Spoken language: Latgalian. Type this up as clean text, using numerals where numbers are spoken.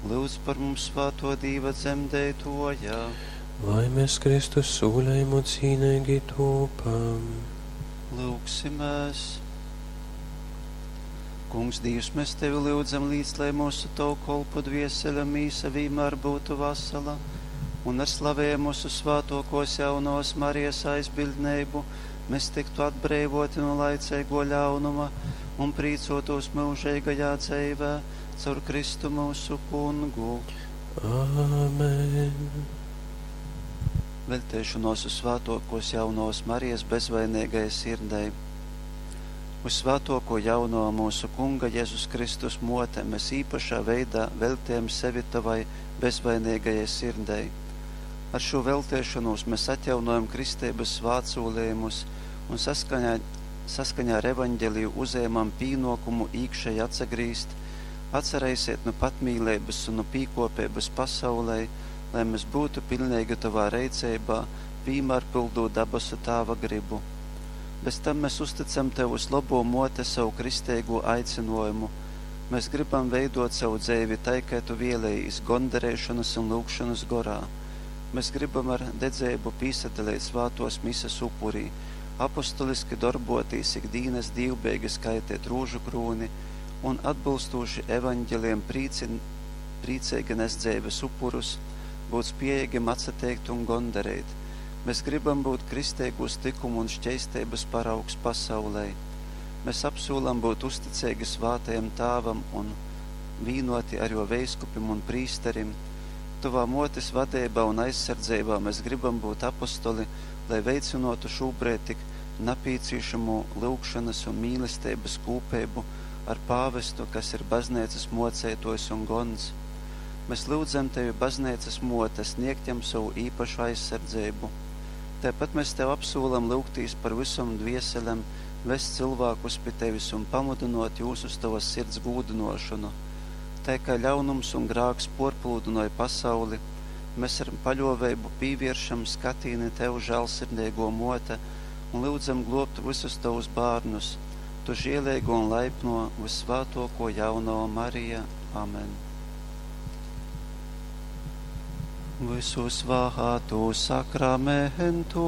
Lūdz par mums svātō Dīva dzemdeitōja. Lai mēs Kristus sūlējumu cīneigi tūpam. Lūgsimēs. Kungs, Dīvs, mēs Tevi lyudzam līdz, lai mūsu Tavu kolpu dvieseļa mīsa vīmēr būtu vasala un ar slavējumu mūsu svātokos jaunos Marijas aizbildneibu mēs tiktu atbreivoti no laicīgo ļaunuma un prīcotos mūžīgajā dzīvē caur Kristu mūsu kungu. Āmen. Veltēšanos uz svētokos jaunos Marijas bezvainīgajai sirdei. Uz svētoko jauno mūsu Kunga Jēzus Kristus mote mēs īpašā veidā veltējam sevi tavai bezvainīgajai sirdei. Ar šo veltēšanos mēs atjaunojam kristības svātsūlējumus un saskaņā, saskaņā ar evaņģeliju uzējamam pīnokumu īkšēji atsagrīzt, atcerēsiet no patmīlības un no pīkopības pasaulē, lai mēs būtu pilnīgi tavā reicībā, vienmēr pildot dabasu tāva gribu. Bez tam mēs uzticam Tev uz labo mote savu kristīgo aicinājumu. Mēs gribam veidot savu dzīvi tai, kā Tu vēlējies, gondarēšanas un lūgšanas gorā. Mēs gribam ar dedzību pīsadalīt svātos misas upurī, apostoliski darbotīs ikdienas dīvbeigi skaitīt rūžu krūni un atbilstoši evaņģeliem prīci, priecīgi nest dzīves upurus, būt spējīgiem atsateikt un gondarēt. Mēs gribam būt kristīgos likumu un šķeistības paraugs pasaulē. Mēs apsolam būt uzticīgi svātajam tāvam un vīnoti ar jo veiskupim un prīsterim. Tavā motes vadībā un aizsardzībā mēs gribam būt apostoli, lai veicinotu šobrīd tik napīcīšamo lūgšanas un mīlestības kūpību ar pāvestu, kas ir baznīcas mocētojs un gons. Mēs lūdzam tevi, baznīcas mote, sniegt jam savu īpašu aizsardzību. Tāpat mēs tev apsolam lūgtīs par visam dvieselēm, vest cilvēkus pie tevis un pamudinot jūs uz tavas sirds gūdinošanu. Tā kā ļaunums un grāks porplūdinoja pasauli, mēs ar paļovēbu pīvieršam skatīni tev žēlsirdīgo mote un lūdzam globt visus tavus bērnus, tu žielīgo un laipno visvētoko jauno Marija. Amen. Visu svātu sakramentu.